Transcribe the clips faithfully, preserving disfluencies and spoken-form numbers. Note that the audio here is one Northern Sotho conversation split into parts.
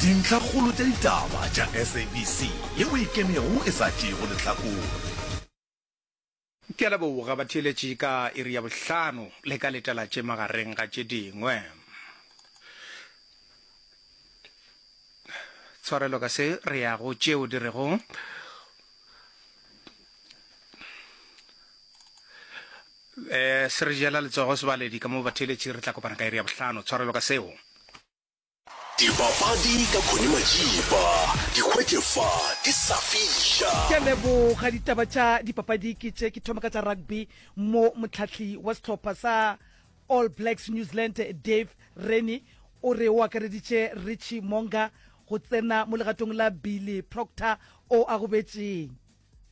Dintlhakgolo tša ditaba tša S A B C yeo e ikemego e sa tšeego lehlakore. Ke a leboga batheeletši ka iri ya bohlano le ka letela tše magareng ga tše dingwe. Tshwarelo ka se re ya go tšeo di rego eh se re jela letsogo sebaledi ka mo batheeletši re tla kopana ka iri ya bohlano. Tshwarelo ka seo. Dipapadi ka Connie Majiba, di hwetše fa di sa fiša. Ke a leboga. Ditaba tša dipapadi ke tše, ke thoma ka tša rugby mo mohlahli wa sehlopha sa All Blacks New Zealand Dave Rennie o re o akareditše Richie Mo'unga go tsena mo legatong la Billy Proctor o a gobetšeng.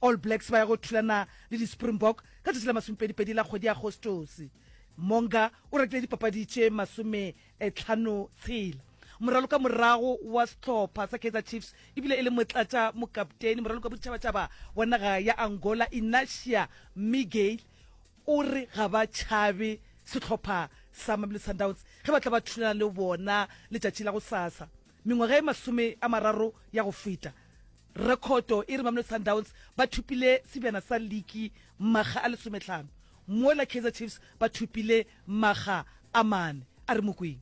All Blacks ba ya go thulana le di-Springbok ka tšatši la masomepedipedi la kgwedi ya Agostose. Mo'unga o rakile dipapadi tše masometlhano tshela. Moraloka morago wa sehlopha sa Kaizer Chiefs ebile e le motlatša mokapteni moraloka boditšhabatšhaba wa naga ya Angola Inacia Miguel o re ga ba tšhabe sehlopha sa Mamelodi Sundowns ge ba tla ba thulana le bona letšatši la gosasa. Mengwaga e masome a mararo ya go feta, rekhoto e re Mamelodi Sundowns ba thopile sebjana sa liki makga a lesometlhano, mola Kaizer Chiefs ba thopile makga a mane. A re mo kweng.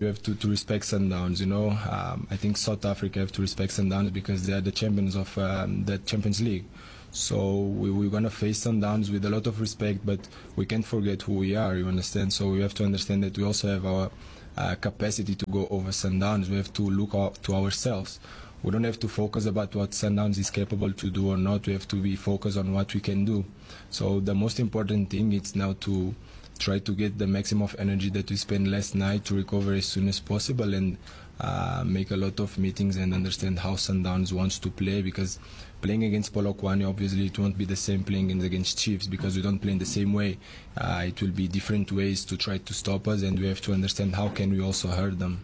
You have to, to respect Sundowns, you know. Um, I think South Africa have to respect Sundowns because they are the champions of um, the Champions League. So we, we're gonna face Sundowns with a lot of respect, but we can't forget who we are, you understand? So we have to understand that we also have our uh, capacity to go over Sundowns. We have to look out to ourselves. We don't have to focus about what Sundowns is capable to do or not. We have to be focused on what we can do. So the most important thing is now to try to get the maximum of energy that we spent last night to recover as soon as possible and uh, make a lot of meetings and understand how Sundowns wants to play, because playing against Polokwane, obviously it won't be the same playing against Chiefs because we don't play in the same way. Uh, it will be different ways to try to stop us, and we have to understand how can we also hurt them.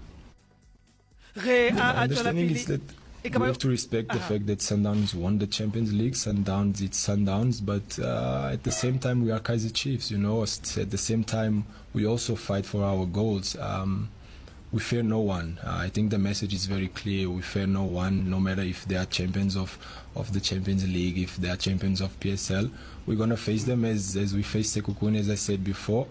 Ge a a tšwela Understanding is pele that e ka we ba have to respect the fact that Sundowns won the Champions League. Sundowns, it's Sundowns, but uh, at the same time we are Kaizer Chiefs. You know, at the same time we also fight for our goals. Um, we fear no one. Uh, I think the message is very clear. We fear no one, no matter if they are champions of, of the Champions League, if they are champions of P S L. We're gonna face them as, as we face Sekhukhune, as I said before.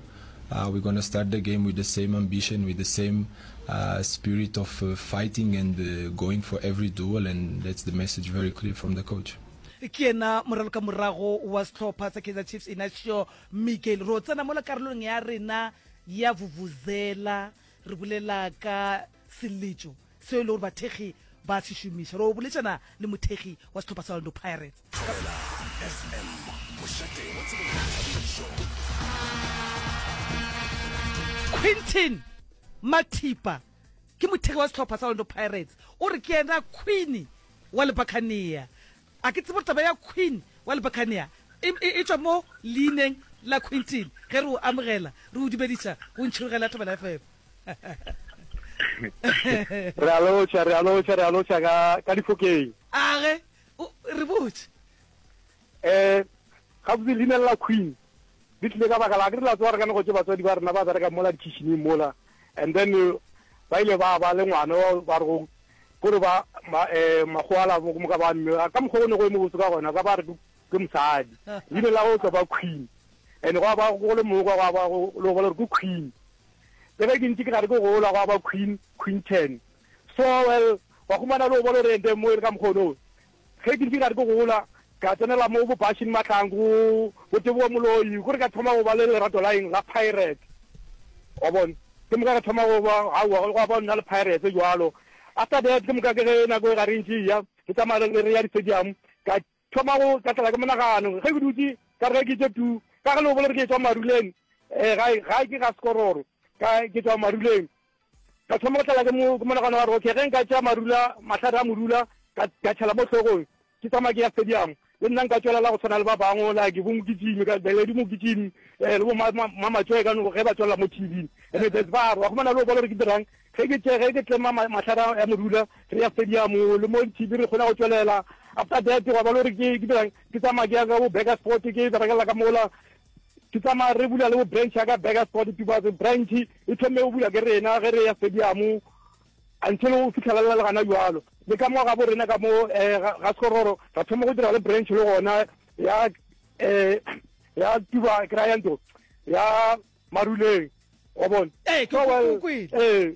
Uh, we're gonna start the game with the same ambition, with the same uh, spirit of uh, fighting and uh, going for every duel, and that's the message very clear from the coach. Ke yena moraloka morago wa sehlopha sa Kaizer Chiefs Inacio Miguel. Ro tsena mola karolong ya rena ya vuvuzela, re bolela ka seletšo seo e le gore bathekgi ba se šomiša. Ro boletšana le mothekgi wa sehlopha sa Orlando Pirates. Thobela F M, mošate wa tsebo le boithabišo. Quinton Mathipa ke mothekgi wa sehlopha sa Orlando Pirates, o re ke yena queen wa Lebakania. A ke tsebo taba ya queen wa Lebakania e, e, e tšwa mo leineng la Quinton. Ge re o amogela, re o dumediša go ntšhirogela Thobela F M. Re a lotšha, re a lotšha, re a lotšha ka ka difokeng. Age re botse. um gabotse leina la queen le tlile ka baka la ke re la tsewa re ka nego tse batswadi ba rena ba bereka mola dikitcheneng mola, and then ba ile ba ba le ngwana ba re go kore ba um makgoala moka ba mme ka mokgwa o ne go e mo botse ka gona, ba ba re ke mosadi, leina la go tlo ba queen, and go ba go le mongwe gwa ba go le go bona gore ke queen. Le ge ke ntse ke gare ke gola, gwa ba queen Quinton. So well, wa humana le o bona gore ente mo e le ka mokgono. Ge ke ntse ke gare ke gola, ka tsenela mo bo Bashing Mahlangu, bo Tebogo Moloi, kore ka thoma go ba le lerato la eng, la Pirates, wa bona. Ke moka ka thoma go ba aowa, gwa ba nna le Pirates jwalo. After that, ke moka ke ge nako e gare ntse ya re tsamaya re ya di-stadium, ka thoma go ka tlela ke monagano ge ke dutse ka re ge ke tse tu ka ge le o bole re ke tswa Maruleng, um gae gae ke ga Sekororo, ka ke tswa Maruleng, ka thoma go tlala ke monagano wa re, okay, ge nka tšea marula, mahlare a morula, ka tšhela mo hlogong, ke tsamaya ke ya stadium, le nna nka tswelela go tshwana le ba bangwe, like bo Mokitimi, ka Beledi Mokitimi, um le bo Mamatswe ka ge ba tswelela mo T V. And there's ba wa khumana le o bona gore ke dirang ge ke tše ge ke tlema mahlare ya morula, re ya stadium le mo T V, re kgona go tswelela. After that, wa ba le gore ke ke dirang, ke tsamaya ke ya ka bo Burgersfort, ke berekela ka mola, ke tsamaya re bula le bo branch ya ka Burgersfort, Tubatse branch e thome go bula ke rena ge re ya stadium. Until go fitlhelela le gana jwalo. Le ka mo gabo rena ka mo eh, ga ga Sekororo ra thoma go dira le branch le gona ya eh ya tuba ke ra ya ntho ya Maruleng. Wa bona? Ee, ke So, well, go kwele. eh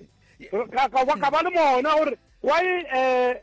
ka ka ba ka ba le mona gore why eh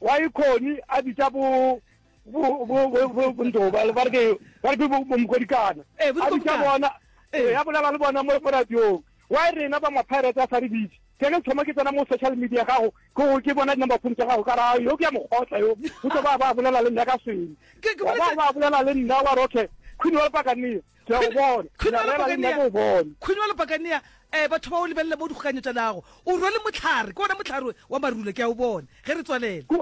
why Connie a bitsa bo bo bo bo bo bo ntho ba ba re ke ba re ke bo bo Mokodikana. Eh, bo A bitsa Mokodikana. bona Eh. eh a bolela le bona mo mo radiong. Why rena ba ma Pirates a sa re bitse? Ke ge thoma ke tsena mo social media gago ke go ke bona di-number phone tša gago ka ra yo ke ya mokgotla yo o tlo ba ba bolela le nna ka swele Ke- ke Wa ba boletse- ba bolela le nna wa re okay Queen wa Lepakania ke a go bona Queen Ke wa a rera le nna Lepakania ke o bone Queen wa Lepakania eh batho ba o lebelela mo dikgokanyo tša lago o rwele mohlare ke ona mohlare wa marula ke a o bona ge re tswalela Ke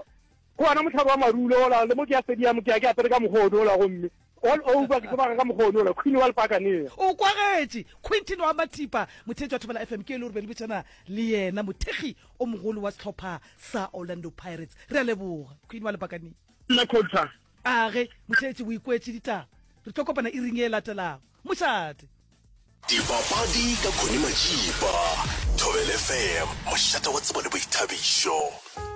ke ona mohlare wa marula ola le mo ke ya stadium ke ya ke apere ka mokgono ola gomme all over ke tsebaka ka mokgono ola Queen wa Lepakania o kwagetše Quinton wa Mathipa motheetši wa Thobela F M ke e le gore be le betšana le yena mothekgi o mogolo wa sehlopha sa Orlando Pirates re a leboga Queen wa Lepakania nna coach a ge motheetši o ikwetše ditaba re tlo kopana iring e latelago mošate Dipapadi ka Connie Majiba. Thobela F M, mošate wa tsebo le boithabišo.